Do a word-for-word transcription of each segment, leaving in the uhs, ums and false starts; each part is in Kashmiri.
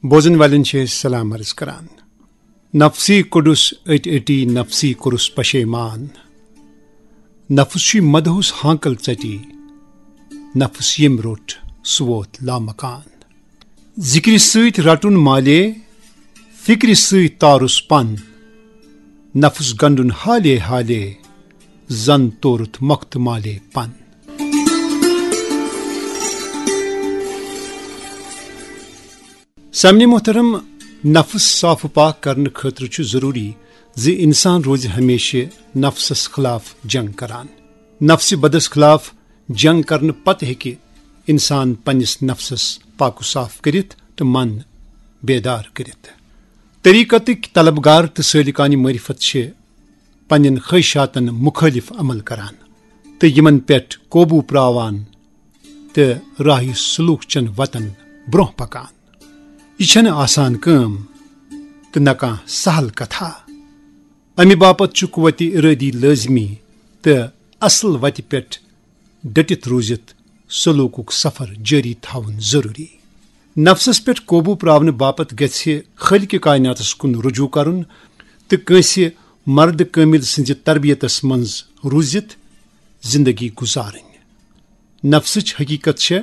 بوزن والٮ۪ن چھِ أسۍ سلام عرض کران۔ نفسی کوٚڈُس أٹۍ أٹی، نفسی کوٚرُس پشیمان۔ نفس چھُے مدہوس ہانکل ژٹی، نفس ییٚمۍ روٚٹ سُہ ووت لامکان۔ ذکرِ سۭتۍ رٹُن مالے، فکرِ سۭتۍ تارُس پن۔ نفس گنڈُن حالے حالے، زن تورُتھ مۄختہٕ مالے پن۔ سامعین محترم، نفس صاف و پاک کرنہٕ خٲطرٕ چھُ ضروٗری زِ انسان روزِ ہمیشہِ نفسس خلاف جنگ کران۔ نفسِ بدس خلاف جنگ کرنہٕ پتہٕ ہیٚکہِ انسان پننِس نفسس پاک و صاف کٔرِتھ تہٕ من بیدار کٔرِتھ۔ طریقتٕکۍ طلبگار تہٕ سٲلِکانِ معرفت چھِ پننٮ۪ن خواہشاتن مخٲلف عمل کران تہٕ یِمن پٮ۪ٹھ قوبوٗ پراوان تہٕ راہہِ سلوک چٮ۪ن وتن برونٛہہ پکان۔ یہِ چھنہٕ آسان کٲم تہٕ نہ کانٛہہ سہل کتھا۔ امہِ باپتھ چھُ قوتِ ارٲدی لٲزمی تہٕ اصل وتہِ پٮ۪ٹھ ڈٔٹِتھ روٗزِتھ سلوکُک سفر جٲری تھاوُن ضروٗری۔ نفسس پٮ۪ٹھ قوبوٗ پراونہٕ باپتھ گژھِ خٲلقِ کائناتس کُن رجوع کرُن تہٕ کٲنٛسہِ مرد کٲمل سٕنٛزِ تربیتس منٛز روٗزِتھ زندگی گُزارٕنۍ۔ نفسٕچ حقیقت چھےٚ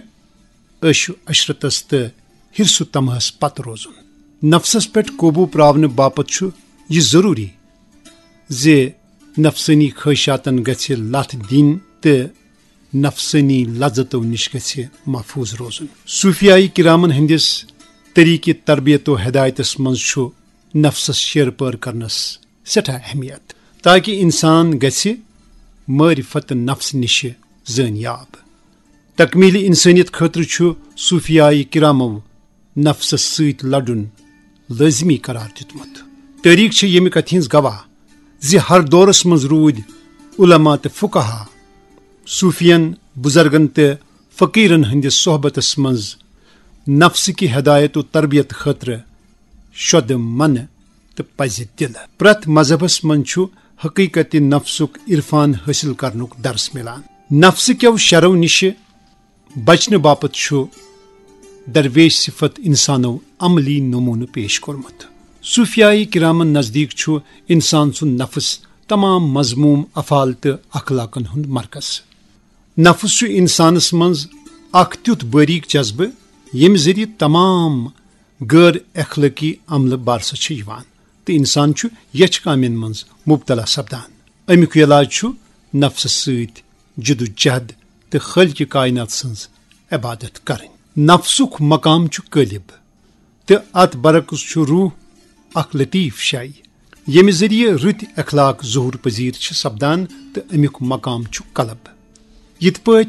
عیش و عشرتس تہٕ حرص و طمعس پتھ روزُن۔ نفسس پٮ۪ٹھ قوبوٗ پراونہٕ باپتھ چھُ یہِ ضروٗری زِ نفسٲنی خواہشاتن گژھِ لتھ دِنۍ تہٕ نفسٲنی لذتو نِش گژھِ محفوظ روزُن۔ صوفیائی کرامن ہٕنٛدِس طریقِ تربیت و ہدایتس منٛز چھُ نفسس شیر پٲر کرنس سٮ۪ٹھاہ اہمیت، تاکہ انسان گژھِ معرفت نفس نِش زٲنیاب۔ تکمیل انسانیت خٲطرٕ چھُ صوفیائی کرامو نفسس سۭتۍ لڑُن لٲزمی قرار دیُتمُت۔ تٲریخ چھِ ییٚمہِ کتھِ ہٕنٛز گواہ زِ ہر دورس منٛز روٗدۍ علماء تہٕ فقہا صوفین، بزرگن تہٕ فقیرن ہٕنٛدِس صحبتس منٛز نفسٕکہِ ہدایت و تربیت خٲطرٕ شۄدٕ منہٕ تہٕ پزِ دِلہٕ۔ پرٛٮ۪تھ مذہبس منٛز چھُ حقیقت نفسُک عرفان حٲصِل کرنُک درس میلان۔ نفسہٕ کٮ۪و شرو نِشہِ بچنہٕ باپتھ چھُ درویش صفت انسانو عملی نمونہٕ پیش کوٚرمُت۔ صوفیائی کرامن نزدیک چھُ انسان سُنٛد نفس تمام مذموم افعال تہٕ اخلاقن ہُنٛد مرکز۔ نفس چھُ انسانس منٛز اکھ تیُتھ باریک جذبہٕ، ییٚمہِ ذٔریعہٕ تمام غٲر اخلٲقی عملہٕ بارسس چھِ یِوان تہٕ انسان چھُ یچھ کامٮ۪ن منٛز مبتلا سپدان۔ امیُک علاج چھُ نفسس سۭتۍ جدوجہد تہٕ خالقِ کائنات سٕنٛز عبادت کرٕنۍ۔ نفسُک مقام چھُ غٲلب تہٕ اتھ برعکس چھُ روح اکھ لطیف شے، ییٚمہِ ذٔریعہٕ رٕتۍ اخلاق ظہور پذیر چھِ سپدان تہٕ امیُک مقام چھُ قلب۔ یِتھ پٲٹھۍ